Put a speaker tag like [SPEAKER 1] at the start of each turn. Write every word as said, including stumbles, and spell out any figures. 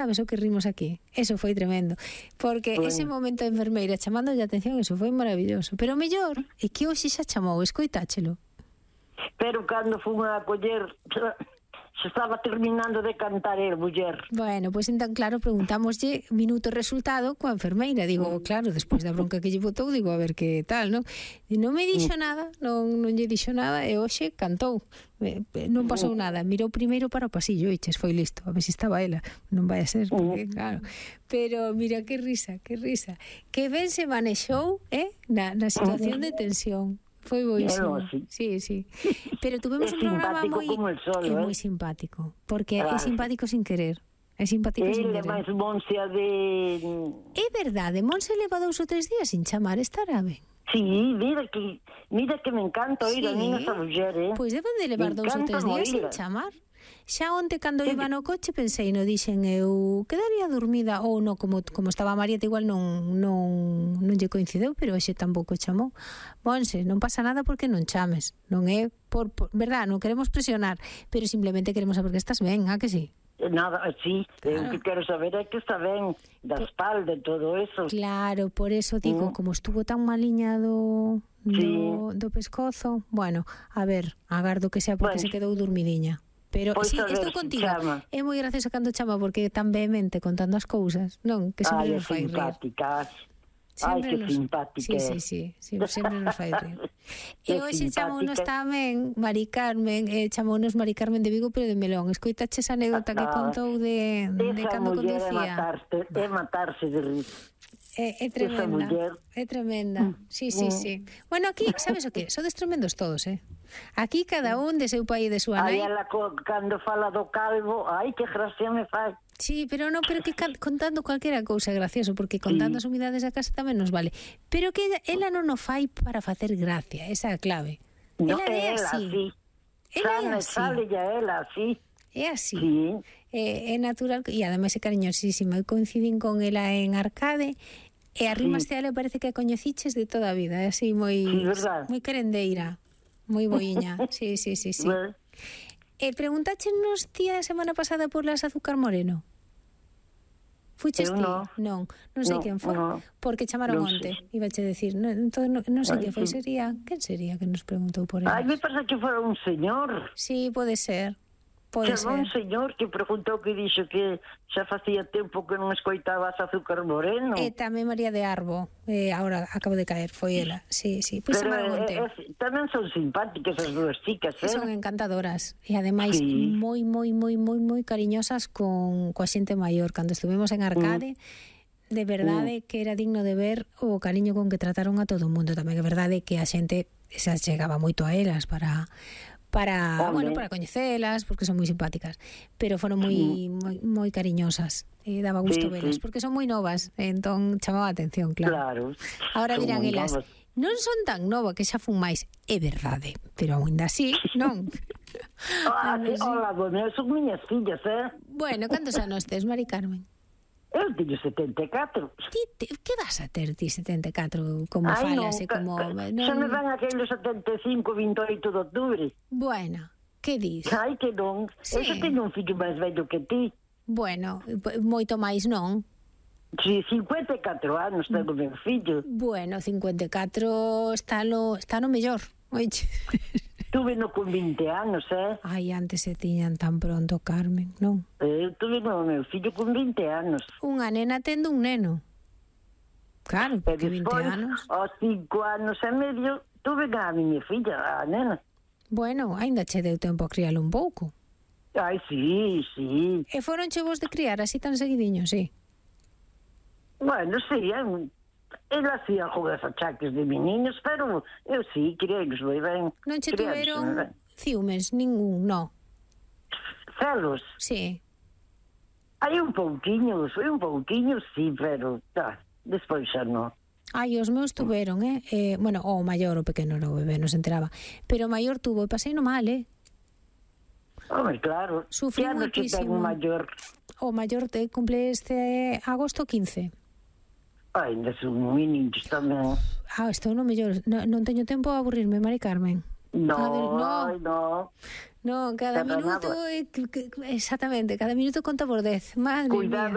[SPEAKER 1] Sabes o que rimos aquí? Eso foi tremendo. Porque bueno, ese momento de enfermeira chamando a atención, eso foi maravilloso. Pero o mellor é que hoxe xa chamou, escoitáchelo.
[SPEAKER 2] Pero cando fun a coller, se estaba terminando de cantar el muller.
[SPEAKER 1] Bueno, pois pues, entón, claro, preguntámoslle minuto resultado coa enfermeira. Digo, claro, despois da bronca que lle botou, digo, a ver que tal, non? E non me dixo nada, non, non lle dixo nada, e hoxe cantou. Non pasou nada, mirou primeiro para o pasillo e ches, foi listo, a ver se estaba ela. Non vai a ser, porque, claro. Pero mira, que risa, que risa. Que ben se manexou, eh, na, na situación de tensión. Foi boísimo. Sí, sí. Pero tuvemos un programa moi
[SPEAKER 2] sol,
[SPEAKER 1] é moi simpático, porque claro, é simpático sin querer. É simpático sin querer.
[SPEAKER 2] Ele máis Monse de...
[SPEAKER 1] É verdade, Monse leva dous ou tres días sin chamar, estará ben.
[SPEAKER 2] Sí, mira que mira que me encanta oír sí, a mí esa muller, eh.
[SPEAKER 1] Pois deben de levar dous ou tres días sin chamar. Xa onte cando sí, iba no coche pensei, no dixen eu quedaría dormida ou no, como como estaba Marieta igual non non non lle coincideu, pero hoxe tampouco chamou. Monse, non pasa nada porque non chames, non é por, por verdad, non queremos presionar, pero simplemente queremos saber que estás ben, a que sí?
[SPEAKER 2] Nada, sí, claro. O que quero saber é que está ben da espalda e todo eso.
[SPEAKER 1] Claro, por eso digo, mm. como estuvo tan maliña do, do, sí. do pescozo, bueno, a ver, agardo que sea porque bueno, se quedou dormidiña. Pero
[SPEAKER 2] pois
[SPEAKER 1] sí, estou contigo.
[SPEAKER 2] Chama.
[SPEAKER 1] É moi gracioso cando chama porque é tan vehemente contando as cousas, non? Que sempre nos fai rir.
[SPEAKER 2] Ai, que
[SPEAKER 1] nos...
[SPEAKER 2] simpática.
[SPEAKER 1] Sí, sí, sí, sí, sempre nos fai rir. E hoxe chamounos tamén Mari Carmen, eh, chamounos Mari Carmen de Vigo, pero de Melón. Escoitaches a anécdota que contou de, de cando conducía.
[SPEAKER 2] Esa muller é matarse de rir.
[SPEAKER 1] É, é tremenda, é tremenda. Sí, sí, sí. Bueno, aquí, sabes o que? Sodes tremendos todos, eh? Aquí cada un de seu país, de súa nai.
[SPEAKER 2] Aí ela cando fala do calvo, ai, que gracia me fai.
[SPEAKER 1] Sí, pero non, pero que contando cualquiera cousa é gracioso, porque contando sí, as humidades da casa tamén nos vale. Pero que ela non o fai para facer gracia, esa é a clave.
[SPEAKER 2] No,
[SPEAKER 1] ela é así.
[SPEAKER 2] así. Ela é así. Sale ya ela así.
[SPEAKER 1] É así.
[SPEAKER 2] Sí.
[SPEAKER 1] É, é natural, e ademais é cariñosísima. Eu coincidín con ela en Arcade, e a rimaste sí, a ela parece que a coñeciches de toda a vida. É así, moi,
[SPEAKER 2] sí,
[SPEAKER 1] moi querendeira. Moi boiña, sí, sí, sí, sí. Bueno. Eh, preguntáchenos ti a semana pasada por las Azúcar Moreno? Fuches ti?
[SPEAKER 2] No.
[SPEAKER 1] Non, non sei
[SPEAKER 2] no,
[SPEAKER 1] quen foi,
[SPEAKER 2] no.
[SPEAKER 1] porque chamaron no onte, ibache decir, non, non, non sei quen foi,
[SPEAKER 2] sí,
[SPEAKER 1] sería, quen sería que nos preguntou por ela?
[SPEAKER 2] Ai, me parece que foi un señor.
[SPEAKER 1] Sí, pode ser. Pode
[SPEAKER 2] ser. Un señor que preguntou, que dixo que xa facía tempo que non escoitaba as Azúcar Moreno.
[SPEAKER 1] E tamén María de Arbo, eh, agora acabo de caer, foi ela. Sí, sí. Pois
[SPEAKER 2] pero
[SPEAKER 1] eh,
[SPEAKER 2] eh, tamén son simpáticas as dúas chicas, eh?
[SPEAKER 1] Son encantadoras e ademais sí, moi, moi, moi, moi, moi cariñosas con coa xente maior. Cando estuvemos en Arcade, mm. de verdade mm. que era digno de ver o cariño con que trataron a todo o mundo. Tamén é verdade que a xente se chegaba moito a elas para para, oh, bueno, para coñecelas, porque son moi simpáticas, pero foron moi mm. moi, moi cariñosas. E daba gusto sí, velas, sí, porque son moi novas, entón chamaba a atención, claro.
[SPEAKER 2] Claro.
[SPEAKER 1] Ahora dirán elas, novas. Non son tan nova que xa fun máis, é verdade, pero aínda así, non?
[SPEAKER 2] Ah, sí, hola, bueno, son miñas fillas, eh?
[SPEAKER 1] Bueno, cantos anos tes, Mari Carmen?
[SPEAKER 2] Eu teño setenta e catro.
[SPEAKER 1] Ti, te, que vas a ter ti setenta e catro? Como
[SPEAKER 2] Ay,
[SPEAKER 1] falas e como...
[SPEAKER 2] No, xa me van aqueles setenta e cinco, vinte e oito de octubre.
[SPEAKER 1] Bueno, que dis?
[SPEAKER 2] Ai, que non. Sí. Eu xa teño un fillo máis vello que ti.
[SPEAKER 1] Bueno, moito máis non?
[SPEAKER 2] Si, sí, cincuenta e catro anos tengo meu fillo.
[SPEAKER 1] Bueno, cincuenta e catro está no, está no mellor. Oiche.
[SPEAKER 2] Tuve no con vinte anos, eh?
[SPEAKER 1] Ai, antes se tiñan tan pronto, Carmen, non?
[SPEAKER 2] Eu tuve no meu fillo con vinte anos.
[SPEAKER 1] Unha nena tendo un neno. Claro, porque vinte anos.
[SPEAKER 2] Aos cinco anos e medio tuve a miña filla, a nena.
[SPEAKER 1] Bueno, aínda che deu tempo a crialo un pouco.
[SPEAKER 2] Ai, sí, sí.
[SPEAKER 1] E foron che vos de criar así tan seguidiño, sí?
[SPEAKER 2] Bueno, sí, é un... Ela hacía algunhas achaques de meninos, pero eu sí, criei-los moi ben.
[SPEAKER 1] Non che tuveron ciúmes, ningún, no?
[SPEAKER 2] Celos?
[SPEAKER 1] Sí.
[SPEAKER 2] Hai un pouquiño, foi un pouquiño, sí, pero tá, despois xa non.
[SPEAKER 1] Ai, os meus tuveron, eh? eh bueno, o maior, o pequeno, no, o bebé, non se enteraba. Pero o maior tuvo, e pasei no mal, eh?
[SPEAKER 2] Home, claro.
[SPEAKER 1] Sufrí moitísimo.
[SPEAKER 2] O maior?
[SPEAKER 1] O maior te cumple este agosto quince.
[SPEAKER 2] Ai, ainda son moi niños tamén.
[SPEAKER 1] Ah, estou no mellor. No, non teño tempo a aburrirme, Mari Carmen.
[SPEAKER 2] No, no. No,
[SPEAKER 1] no cada minuto... Eh, exactamente, cada minuto conta por dez. Madre
[SPEAKER 2] Cuidado.
[SPEAKER 1] mía.